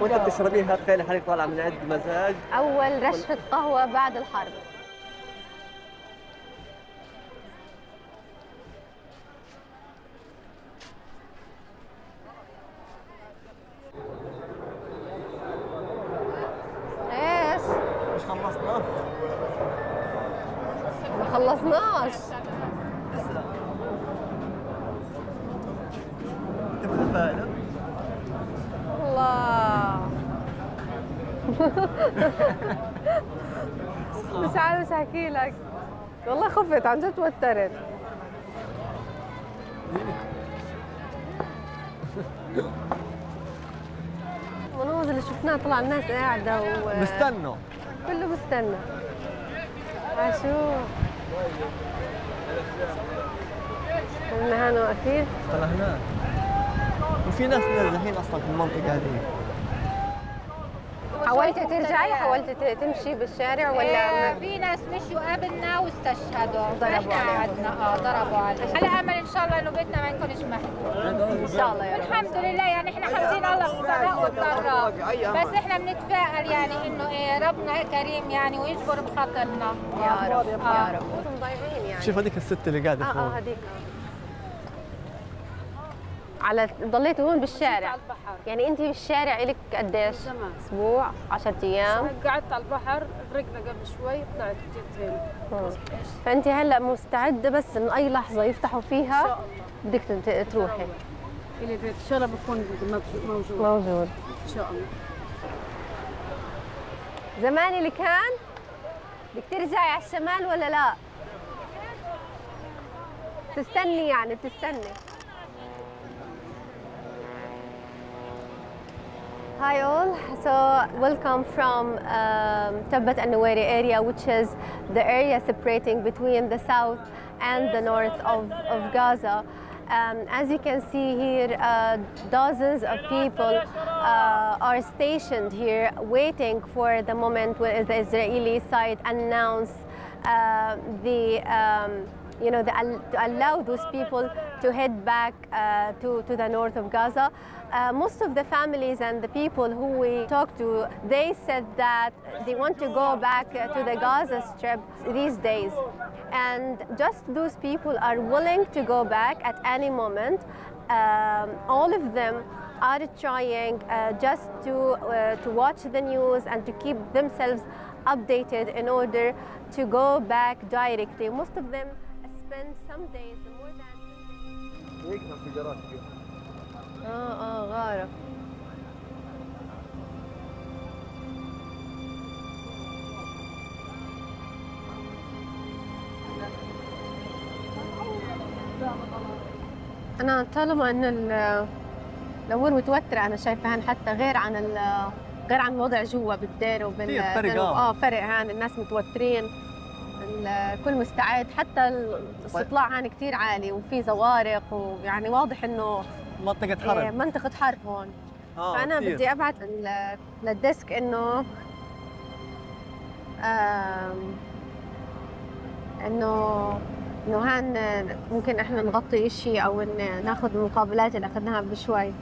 وانت بتشربيها تخيلي حالك طالعه من عند مزاج. اول رشفه قهوه بعد الحرب. ايش؟ مش خلصنا؟ ما خلصناش. لسه. انت متفائلة؟ الله. مش عارف احكي لك، والله خفت عن جد توترت. المناظر اللي شفناها طلع الناس قاعدة بستنوا كله بستنى. عاشوف كنا هنا واقفين. طلع هناك وفي ناس نازحين اصلا في المنطقة هذه. حاولتي ترجعي؟ حاولتي تمشي بالشارع ولا؟ في ناس مشوا قبلنا واستشهدوا. ضربوا علينا. ضربوا علينا. على امل ان شاء الله انه بيتنا ما يكونش محكوم. ان شاء الله يا رب. والحمد لله يعني احنا حامدين الله بالسراء والضراء، بس احنا بنتفائل يعني انه ايه ربنا كريم يعني ويجبر بخاطرنا. يا رب يا رب. انتم ضايعين يعني. شوف هذيك الست اللي قاعدة فوق. هذيك. على ضليتوا هون بالشارع؟ على البحر. يعني انت بالشارع لك قديش؟ زمان. اسبوع؟ 10 ايام؟ قعدت على البحر، غرقنا قبل شوي، طلعت جيت هنا. فانت هلا مستعده بس ان اي لحظه يفتحوا فيها بدك تروحي. اللي بيت الشرب بكون موجود. موجود ان شاء الله. زمان اللي كان بدك ترجعي على الشمال ولا لا؟ تستني يعني تستني. Hi all, so welcome from Tabbat al-Nuwairi area, which is the area separating between the south and the north of Gaza. As you can see here, dozens of people are stationed here waiting for the moment when the Israeli side announce to allow those people to head back to the north of Gaza. Most of the families and the people who we talked to, they said that they want to go back to the Gaza Strip these days. And just those people are willing to go back at any moment. All of them are trying just to watch the news and to keep themselves updated in order to go back directly. Most of them spend some days, more than 10 days. غارة. أنا طالما إن الأمور متوترة أنا شايفة حتى غير عن الوضع جوا بالدير فرق فرق هان الناس متوترين. الكل مستعد، حتى الاستطلاع هان كثير عالي وفي زوارق ويعني واضح إنه منطقة حرب. منطقة حرب هون. فأنا كتير. بدي أبعت للديسك إنه هان ممكن إحنا نغطي إشي أو ناخذ المقابلات اللي أخذناها قبل شوي.